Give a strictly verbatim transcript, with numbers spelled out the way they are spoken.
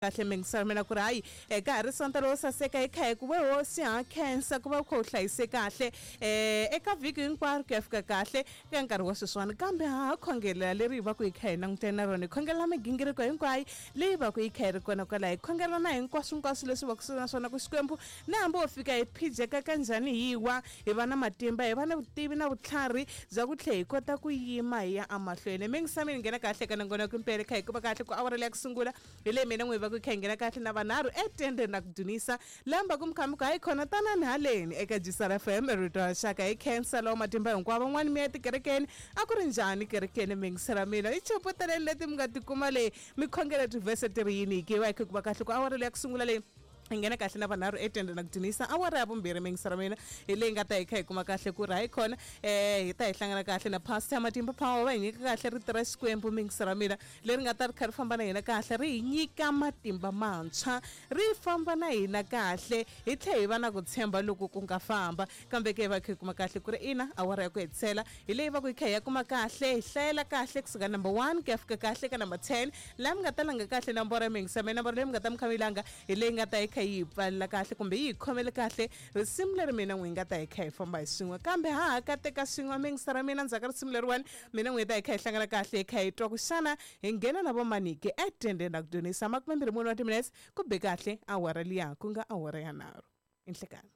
Kahle mingiselo mina ku ri hayi eh, ka ha ri sonto lowo saseka hi kha hi ku we hosi ha khensa ku va u kha u hlayise kahle um eka vhiki hinkwaro ku ya fika kahle eka nkarhi wa sweswiwani, kambe ha ha khongelela leri hi va ku hi kha hi langutene na rona, hi khongelela migingiriko hinkwayo leyi va ku yi kha yi ri kona kwalaho, hi khongelela na hinkwaswo hinkwaswo leswi va ku na swona ku Xikwembu na hambi wo fika hi phijeka kanjhani hi wa hi va na matimba, hi va na vutivi na vutlhari bya ku tlhe hi kota ku yima hi ya emahlweni. Mingisami ni nghena kahle ka nongonoko impela kha hi kuma kahle ku awara leya ku sungula hi leyi mina n'wi va ku kha hi nghena kahle na vanharhu etendeni na ku dunisa lamba ku mukhamuka hayi khona tanani haleni eka G S R F M rito ra xaka. Hi khensa lawa matimba hinkwavo. Van'wani mi ya tikerekeni, a ku ri njhani kerekeni? Mingisela mina i chuputeleni leti mi nga tikuma leyi mi khongela tivhese ti ri yini ki va hi kha ku va kahle ku awara leya ku sungula leyi hi nghena kahle na vanharhu etende na ku dunisa. Awara ya vumbirhi, mingisela mina, hi leyi nga ta hi kha hi kuma kahle ku ri hayi khona um hi ta hi hlangana kahle na Pastor Matimba Power, va hi nyika kahle rito ra Xikwembu, mingisela mina, leri nga ta ri kha ri famba na hina kahle, ri hi nyika matimba mantshwa, ri famba na hina kahle, hi tlhe hi va na ku tshemba loko ku nga famba. Kambe ke hi va kha hi kuma kahle ku ri ina awara ya ku hetisela hi leyi va ku hi kha hi ya kuma kahle hi hlayela kahle kusuka number one ku ya fika kahle ka number ten, laha mi nga ta langa kahle nomboro ya mingisa mina. Nomboro leyi mi nga ta mi kha mi yi langa hi leyi nga ta hi kha yi hi pfalela kahle kumbe yi hi khomele kahle risimu leri mina n'wi nga ta hi kha hi famba hi swin'we, kambe ha ha kateka swin'we mingisa ra mina. Ndzhaku ka risimu leriwani mina n'wi ta hi kha hi hlangana kahle hi kha hi twa ku xana hi nghena na vomanike etendeni ra ku dyondzisa. Makumembirhi mune wa timinetse ku be kahle awara liya ku nga awara ya nharhu inhlekani.